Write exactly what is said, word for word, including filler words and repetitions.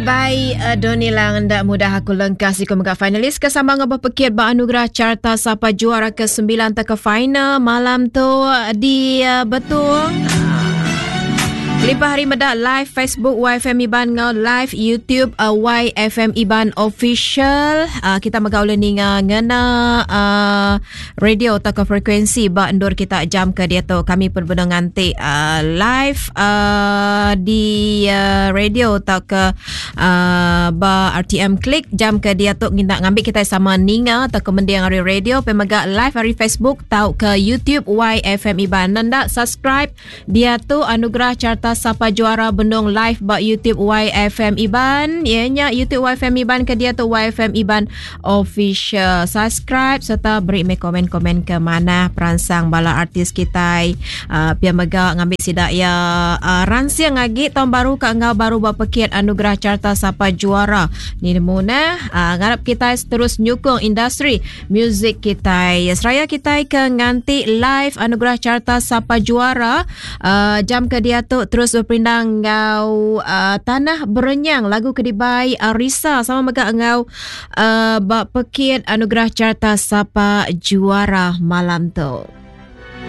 dibai uh, Doni Lang enda mudah aku lengkas siku mega finalis ke sama ngabah pekit ba anugerah carta sapa juara ke sembilan ke final malam tu di uh, Betung. Kelipah hari meda live Facebook Y F M Iban ngau live YouTube uh, Y F M Iban Official. Uh, kita megau ninga ngena uh, radio atau ke frekuensi ba endur kita jam ke dia tu. Kami pun benar nganti uh, live uh, di uh, radio atau ke uh, ba R T M Klik jam ke dia tu ngindak ngambil kita sama ninga atau ke mendiang hari radio pemega live hari Facebook atau ke YouTube Y F M Iban. Nanda subscribe dia tu anugerah carta Sapa Juara Bendung live ba YouTube Y F M Iban. Ianya YouTube Y F M Iban ke dia tu Y F M Iban Official. Subscribe serta beri me komen-komen ke mana peransang bala artis kita. Uh, pia mega ngambil sidak ya uh, ransing lagi tahun baru ke ngau baru ba pekit anugerah carta Sapa Juara. Ni nemu nah. Uh, ngarap kita terus nyukung industri muzik kita. Ya, seraya kita ke nganti live anugerah carta Sapa Juara uh, jam ke dia tu terus berpindang ngau uh, Tanah Berenyang lagu kedibai Arisa sama mega ngau uh, bak pekit anugerah carta Sapa Juara malam tu.